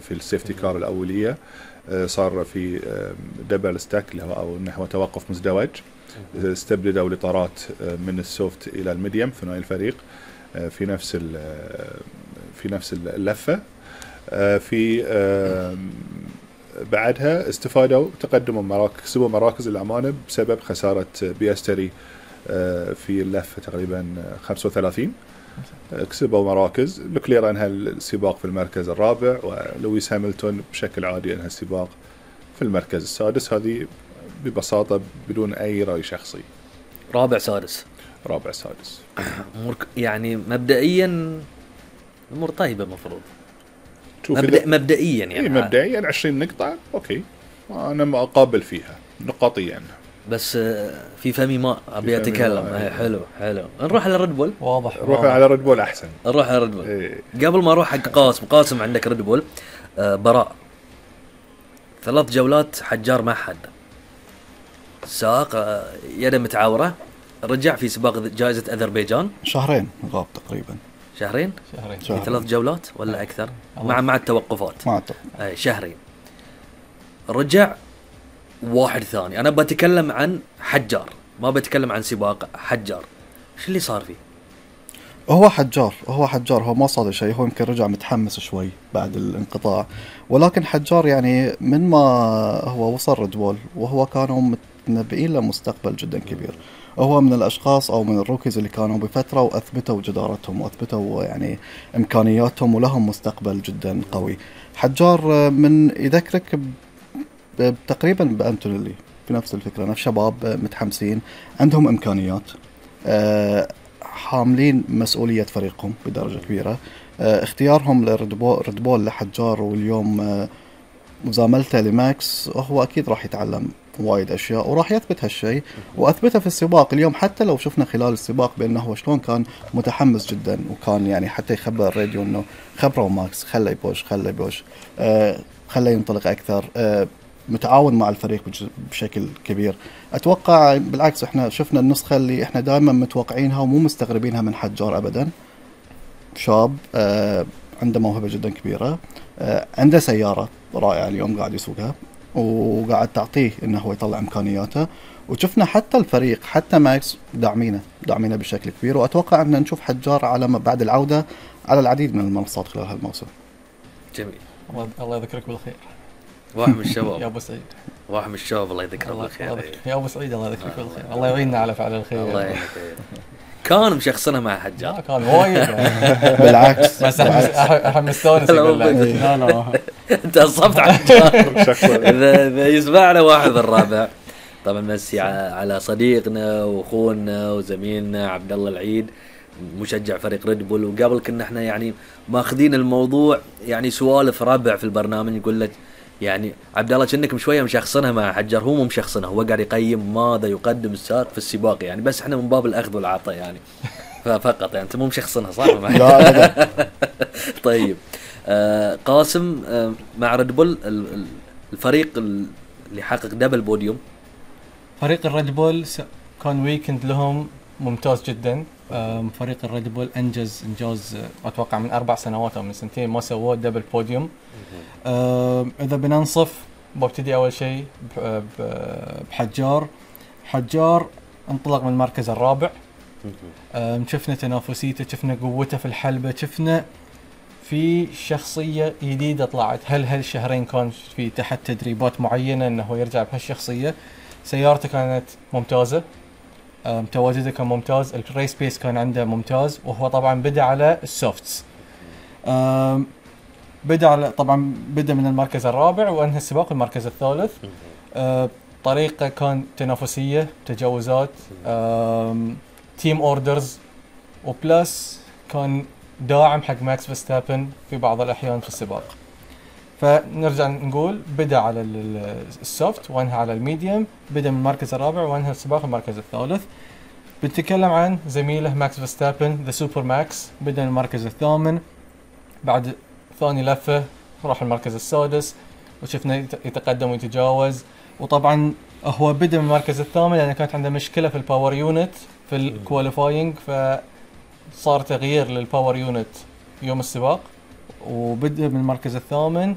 في السيفتي كار الأولية، صار في دبل ستاك اللي هو أو نحو توقف مزدوج، استبدلوا الإطارات من السوفت إلى الميديم ثنائي الفريق في نفس اللفة. في بعدها استفادوا تقدموا كسبوا مراكز الأمانة بسبب خسارة بيستري في اللفة تقريبا 35. كسبوا مراكز. لوكلير أنهى السباق في المركز الرابع، ولويس هاملتون بشكل عادي أنهى السباق في المركز السادس. هذه ببساطة بدون أي رأي شخصي. رابع سادس يعني مبدئيا أمور طيبة مفروض مبدئيا يعني مبدئيا 20 نقطة أوكي، أنا ما أقابل فيها نقاطيا، بس في فمي ما أبي أتكلم. حلو نروح على ريد بول. واضح نروح على ريد بول أحسن. نروح على ريد بول. قبل ما أروح حق قاسم عندك ريد بول براء 3 جولات حجار ما حد ساق يده متعورة، رجع في سباق جائزة أذربيجان شهرين غاب تقريبا. شهرين. في 3 جولات ولا أكثر مع التوقفات شهرين. رجع واحد ثاني. أنا بتكلم عن حجار، ما بتكلم عن سباق. حجار شو اللي صار فيه؟ هو حجار هو ما صار شيء، هو يمكن رجع متحمس شوي بعد الانقطاع، ولكن حجار يعني من ما هو وصل ريد بول وهو كانوا متنبئين له مستقبل جدا كبير. هو من الأشخاص أو من الروكيز اللي كانوا بفترة وأثبتوا جدارتهم وأثبتوا يعني إمكانياتهم ولهم مستقبل جدا قوي. حجار من يذكرك تقريبا بأنتونيلي في نفس الفكرة، نفس شباب متحمسين عندهم إمكانيات، حاملين مسؤولية فريقهم بدرجة كبيرة. اختيارهم لريد بول لحجار واليوم مزاملته لماكس، هو أكيد راح يتعلم وايد أشياء وراح يثبت هالشيء، وأثبته في السباق اليوم. حتى لو شفنا خلال السباق بأنه هو شلون كان متحمس جدا، وكان يعني حتى يخبر الراديو أنه خبره ماكس خلي بوش خلي ينطلق أكثر، متعاون مع الفريق بشكل كبير. أتوقع بالعكس إحنا شفنا النسخة اللي إحنا دائما متوقعينها ومو مستغربينها من حجار أبدا. شاب عنده موهبة جدا كبيرة، عنده سيارة رائعة اليوم قاعد يسوقها وقاعد تعطيه إنه هو يطلع إمكانياته، وشفنا حتى الفريق حتى ماكس داعمينه بشكل كبير. وأتوقع أن نشوف حجار على بعد العودة على العديد من المنصات خلال هالموسم. جميل. الله يذكرك بالخير. واحد من الشباب يا أبو سعيد. واحد من الشباب الله يذكره بالخير. يا أبو سعيد الله يذكرك بالخير. الله يعيننا على فعل الخير. الله يعينك. كان مشخصنها مع حجار. كان وايد بالعكس. بس احنا مستانس لا انت أصبت على حجار. إذا يسمعنا واحد الرابع طبعا مسي على صديقنا واخونا وزميلنا عبد الله العيد مشجع فريق ريد بول. وقبل كنا احنا يعني ماخذين الموضوع يعني سوالف ربع في البرنامج، يقول لك يعني عبد الله كأنك شويه مشخصنها مع حجار. هو مو مشخصنها، هو قاعد يقيم ماذا يقدم السائق في السباق يعني، بس احنا من باب الاخذ والعطاء يعني فقط يعني. انت مو مشخصنها صح؟ لا طيب قاسم مع ريد بول الفريق اللي حقق دبل بوديوم. فريق الريد بول كان ويكند لهم ممتاز جدا. فريق الريد بول انجاز اتوقع من 4 سنوات او من 2 ما سووا دبل بوديوم. اذا بننصف ببتدي اول شيء بحجار. حجار انطلق من المركز الرابع. شفنا تنافسيته، شفنا قوته في الحلبة، شفنا في شخصية جديدة طلعت. هالشهرين كان في تحت تدريبات معينة انه يرجع بهالشخصية. سيارته كانت ممتازة، تواجده كان ممتاز، الريس بيس كان عنده ممتاز. وهو طبعا بدأ على السوفتس، بدأ من المركز الرابع وانهى السباق المركز الثالث. طريقة كان تنافسية، تجاوزات، تيم اوردرز، وبلس كان داعم حق ماكس فيرستابن في بعض الأحيان في السباق. فنرجع نقول بدأ على السوفت وانهى على الميديوم، بدأ من المركز الرابع وانهى السباق المركز الثالث. بنتكلم عن زميله ماكس فيرستابن ذا سوبر ماكس، بدأ من المركز الثامن، بعد ثاني لفة راح المركز السادس وشفنا يتقدم ويتجاوز. وطبعا هو بدأ من المركز الثامن لأن كانت عنده مشكلة في الباور يونت في الكواليفاينج، فصار تغيير للباور يونت يوم السباق وبدأ من المركز الثامن